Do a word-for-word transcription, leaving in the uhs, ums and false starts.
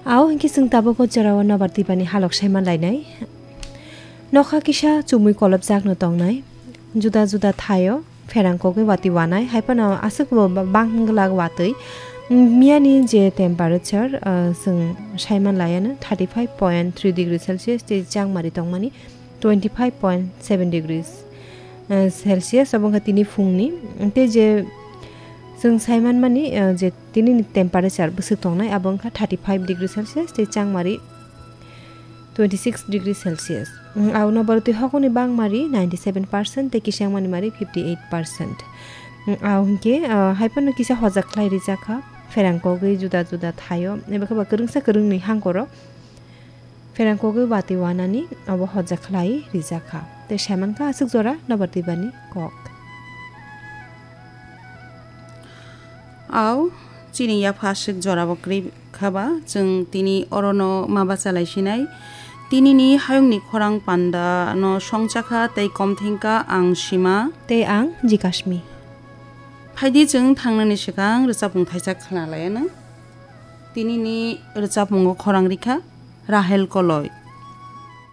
Ao hinkhe chwng tabuk o jorao nobar twibani halok saiman lainai. Nokha kisa chumui kolopjakno tongnai. Juda juda thaio pherang kogwi watwi wanai, hai phano aswk bo ba-, bang glak watwi. Miyani je temperature, ah, chwng saiman laiano thirty five point three degree Celsius tei changmari tongmani twenty five point seven degrees, eh, Celsius, abo wngkha tini phungni. Tei je chwng saimanmani, eh, je tini ni temperature bwswk tongnai, abo wngkha thirty five degree Celsius tei changmari twenty six degree Celsius. Mm, aono borok twi hokoni bangmari ninety seven percent tei kisangmani mari fifty eight percent. Mm, ao hinkhe, ah, hai phano kisa hojak khlai rijak kha, pherang kogwi juda juda thaio, eba khe ba kwrwngsa kwrwngni hangkoro. Pherang kogwi watwi wanani abo hojak khlai rijak kha. Tei saiman kha aswk jora nobar twibani kok. Ao, chini yapha aswk jora bo kwrwi kha ba, chwng tini orono ma bacha lai sinai. Tini ni hayung ni khorang panda no songcha kha tei kom thengkha ang Sima. Tei ang Jikasmi. Phaidi chwng thangnani swkang rwchapmung thaisa khna lai anw. Tini ni rwchapmungo khorang rikha Rahel Koloi.